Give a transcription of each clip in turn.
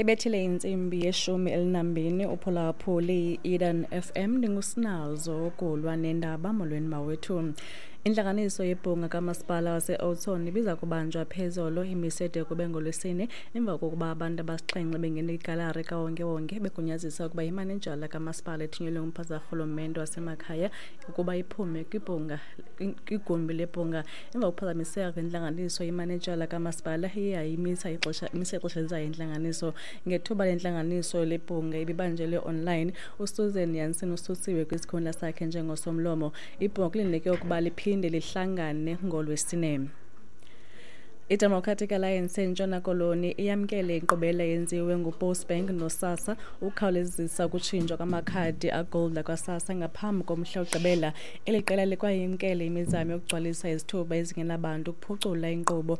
Ibethile intsimbi ye-12 uphulaphuli i-Eden FM. Ndingusinazo ukulwa nendaba. Molweni mawethu. Intlanganiso yebhunga kamasipala wase-Oudtshoorn ibiza kubanjwa phezolo, imise de kube ngolwesine emva kokuba abantu abasixhenxe bengene igalari kawonkewonke begunyazisa ukuba imanejala kamasipala ethunyelwe ngumphathiswa karhulumente wasemakhaya ukuba iphume kwibhunga, kwigumbi lebhunga. Emva kokuphazamiseka kwentlanganiso, imanejala kamasipala iye yayimisa ixesha, imise ixesha elizayo intlanganiso. Ngethuba lentlanganiso lebhunga ibibanjelwe online, uSusan Jansen ususiwe kwisikhundla sakhe njengosomlomo. Ibhunga kulindeleke ukuba liphinde lihlangane ngolwesine. I-Democratic Alliance eNtshona Koloni iyamkele inkqubela eyenziwe nguPostbank noSASSA ukukhawulezisa ukutshintshwa kwamakhadi agold akwaSASSA ngaphambi komhla wokugqibela. Eli qela likwayimkele imizamo yokugcwalisa izithuba ezingenabantu, ukuphucula inkqubo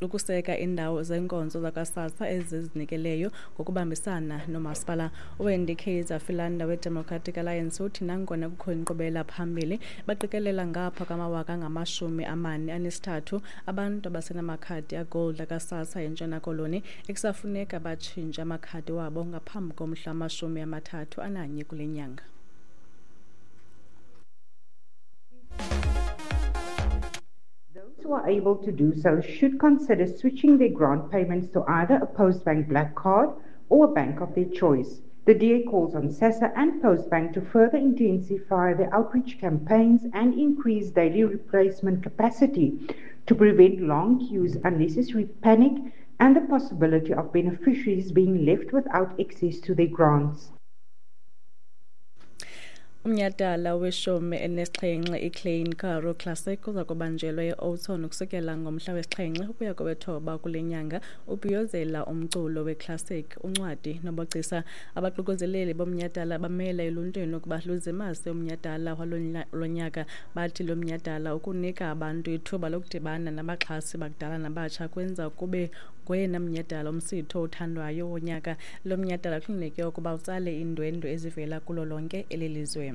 nokuseka iindawo zeenkonzo zakwaSASSA ezizinikeleyo ngokubambisana nomasipala. UWendy Kaiser Philander weDemocratic Alliance uthi nangona kukho inkqubela phambili, baqikelela ngapha kwamawaka angama-43 abantu abasenamakhadi agold akaSASSA eNtshona Koloni ekusafuneka batshintshe amakhadi wabo ngaphambi komhla wama-31 kule nyanga. Those who are able to do so should consider switching their grant payments to either a Postbank Black Card or a bank of their choice. The DA calls on SASSA and Postbank to further intensify their outreach campaigns and increase daily replacement capacity to prevent long queues, unnecessary panic, and the possibility of beneficiaries being left without access to their grants. Umnyhadala we-17 iKlein Karoo Classic uza kubanjelwa e-Oudtshoorn ukusukela ngomhla we-7 ukuya kowethoba kule nyanga, ubhiyozela umculo weclassic, uncwadi nobugcisa. Abaququzeleli bomnyhadala bamela eluntwini ukuba luzimase umnyhadala walo nyaka. Bathi lo mnyhadala ukunika abantu ithuba lokudibana nabaxhasi bakudala nabatsha kwenza kube ngoyena mnyhadala umsitho othandwayo wonyaka. Lo mnyhadala kulindeleke ukuba utsale iindwendwe ezivela kulo lonke eli lizwe.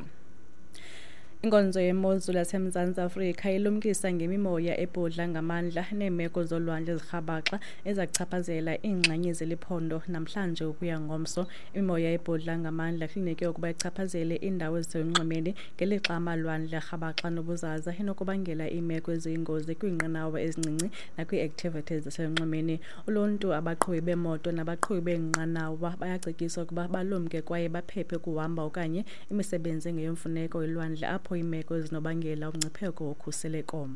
Inkonzo yemozulu yaseMzantsi Afrika ilumkisa ngemimoya ebhudla ngamandla neemeko zolwandle ezirhabaxa ezachaphazela iingxenye zeli phondo namhlanje ukuya ngomso. Imimoya ebhudla ngamandla kulindeleke ukuba ichaphazele iindawo eziselunxwemeni, ngelixa amalwandle arhabaxa nobuzaza inokubangela iimeko eziyingozi kwiinqanawa ezincinci nakwii-activities zaselunxwemeni. Uluntu, abaqhubi beemoto nabaqhubi beenqanawa bayacetyiswa ukuba balumke kwaye baphephe ukuhamba okanye imisebenzi engeyomfuneko elwandle apho iimeko ezinobangela umngcipheko wokhuseleko.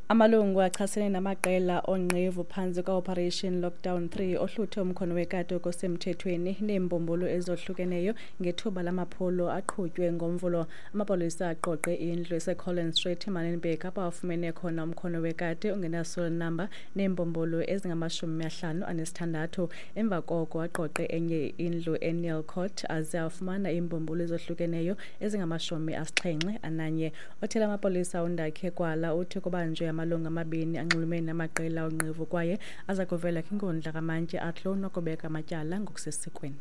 Amalungu achasene namaqela oonqevu phantsi kwa-Operation Lockdown 3 ohluthe umkhono wekati okusemthethweni neembumbulu ezohlukeneyo ngethuba lamaphulo aqhutywe ngoMvulo. Amapolisa aqoqe indlu eseCollins Street eManenberg apho afumene khona umkhono wekati ongenaserial number neembumbulu ezingama-56. Emva koko aqoqe enye indlu eNeil Court aze afumana iimbumbulu ezohlukeneyo ezingama-71. Othela amapolisa uNdakhe Kwala uthi kubanjwe amalungu amabini anxulumene namaqela onqevu kwaye aza kuvela kwinkundla kamantyi Athlone ukubeka amatyala ngokusesikweni.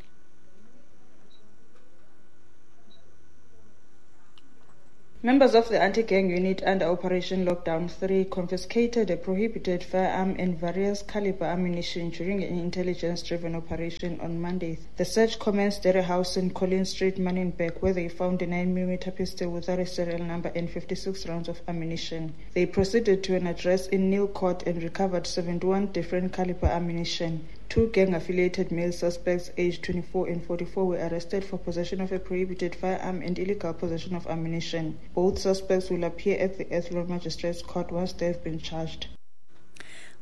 Members of the anti-gang unit under Operation Lockdown 3 confiscated a prohibited firearm and various caliber ammunition during an intelligence-driven operation on Monday. The search commenced at a house in Collins Street, Manenberg, where they found a 9mm pistol without a serial number and 56 rounds of ammunition. They proceeded to an address in Neil Court and recovered 71 different caliber ammunition. Two gang-affiliated male suspects aged 24 and 44 were arrested for possession of a prohibited firearm and illegal possession of ammunition. Both suspects will appear at the Athlone Magistrates Court once they have been charged.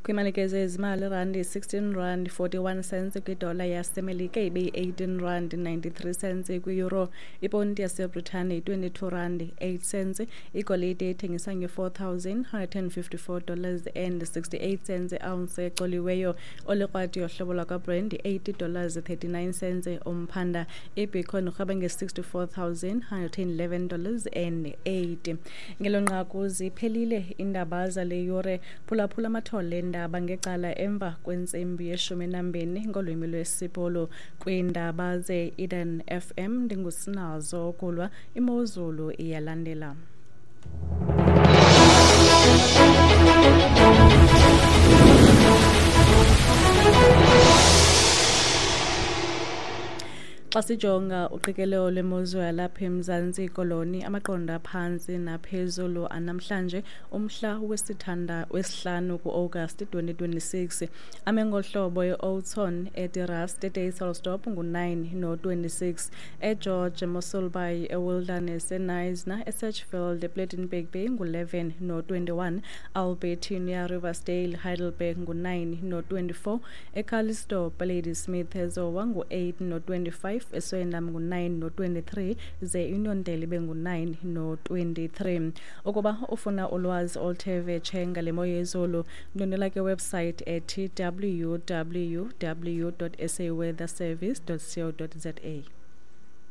Kwimalike zezimali, irandi 16 rand 41 cents kwidola yaseMelika, ibe yi-18 rand 93 cents kwi-euro, iponti yaseBritane yi-22 rand 8 cents. Igolide ithengiswa nge-$4,154 and 68 cents ounce ecoliweyo. Olikrwati yohlobo lwakwaBrent yi-$80 39 cents umphanda. Ibitcoin irhweba nge-$64,111 and 8. Ngelo nqaku ziphelile iindaba zale yure. Phulaphula amathole eendaba ngecala emva kwentsimbi ye-12 ngolwimi lwesiPolo. Kwiindaba ze-Eden FM ndingusinazo okulwa. Imozulu iyalandela. Xa sijonga uqikelelo lwemozulu yalapha eMzantsi Koloni, amaqondo aphantsi naphezulu anamhlanje umhla wesihlanu kuAugasti 2026 ame ngohlobo: eOughton, eDe-Rust, eDysselsdorp ngu-9 no-26, eGeorge, eMossel Bay, eWilderness, eKnysna, eSedgefield, ePlettenberg Bay ngu-11 no-21, Albertinia, Riversdale, Heidelberg ngu-9 no-24, eCalitzdorp, Ladysmith, eZowa ngu-8 no-25, eSwellendam ngu-9 no-23, ze iUniondale ibe ngu-9 no-23. Ukuba ufuna ulwazi oluthe vetshe ngale mo yezulu, ndwendwela ke website ethi www.saweatherservice.co.za.